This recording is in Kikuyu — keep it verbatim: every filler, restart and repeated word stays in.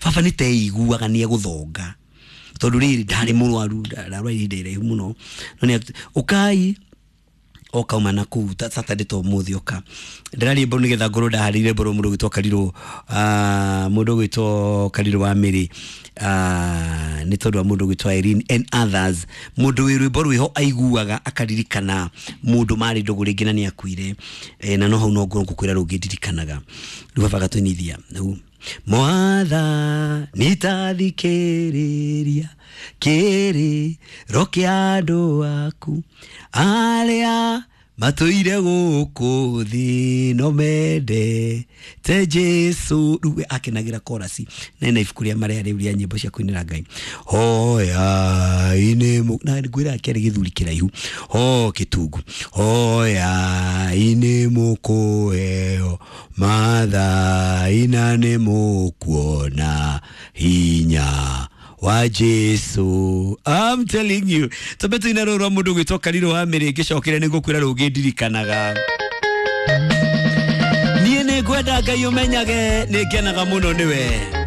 Baba nĩ teiguaga nĩ egũthonga tondũ rĩrĩ ndarĩ mũrwaru, ndarwarire ihinda iraihu mũno, no nĩ ũkai okauma na kuu Saturday to mũthĩ oka ndĩraria mboro nĩgetha ngorwo ndaharĩire mboro mũndũ ũgwĩtwo Karirũ, mũndũ ũgwĩtwo Karirũ wa Mĩrĩ, nĩ tondũ wa mũndũ ũgwĩtwo Irene and others. Mũndũ wĩ rwĩmbo rwĩho aiguaga akaririkana mũndũ marĩ ndũgũ rĩngĩ na nĩ akuire, na no hau no ngorwo ngũkwĩra rũngĩ ndirikanaga. Rĩu baba agatũinithia rĩu Mwathani tathikĩrĩria kĩrĩro kĩa andũ aku arĩa matũire gũkũ thĩ no mendete Jesũ. Rĩu we akenagĩra korasi na ena ibuku rĩa marĩa rĩu rĩa nyĩmbo cia kũinĩra Ngai. Hoyai nĩ na ngwĩra kĩarĩ gĩthuri kĩraihu ho kĩtungu. Hoyai nĩ mũkũheo mathai na nĩ mũkuona hinya wa Jesu. I'm telling you, twambe tuine rũrũ rwa mũndũ ũgwĩtwo Karirũ wa Mĩrĩ, ngĩcokere nĩ ngũkwĩra rũngĩ ndirikanaga. Niĩ nĩ ngwenda Ngai ũmenyage nĩ ngenaga mũno nĩwe.